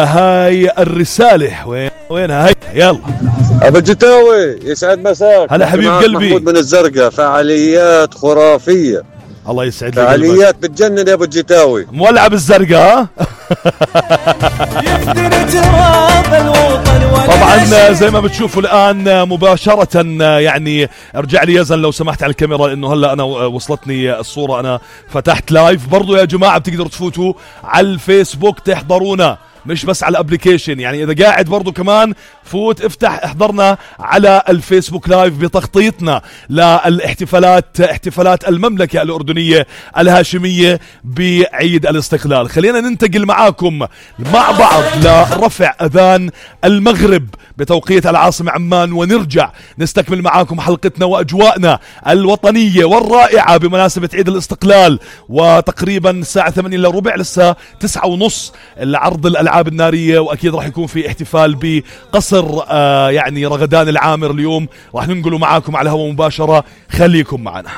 هاي الرسالة وينها هاي؟ يلا ابو الجتاوي يسعد مساك. هلا حبيب قلبي. محمود من الزرقاء. فعاليات خرافية، الله يسعد لك. فعاليات بتجنن يا ابو الجتاوي. مولعة بالزرقاء. طبعا زي ما بتشوفوا الآن مباشرة، يعني ارجع لي يزن لو سمحت على الكاميرا، لأنه هلأ أنا وصلتني الصورة، أنا فتحت لايف. برضو يا جماعة بتقدروا تفوتوا على الفيسبوك تحضرونا، مش بس على الابليكيشن. يعني اذا قاعد برضو كمان فوت افتح احضرنا على الفيسبوك لايف بتغطيتنا للاحتفالات، احتفالات المملكة الأردنية الهاشمية بعيد الاستقلال. خلينا ننتقل معاكم مع بعض لرفع اذان المغرب بتوقيت العاصمة عمان، ونرجع نستكمل معاكم حلقتنا واجواءنا الوطنية والرائعة بمناسبة عيد الاستقلال. وتقريبا الساعة 8 الا ربع لسه 9:30 العرض الألعاب النارية، وأكيد راح يكون في احتفال بقصر يعني رغدان العامر اليوم، راح ننقله معاكم على هوا مباشرة. خليكم معنا.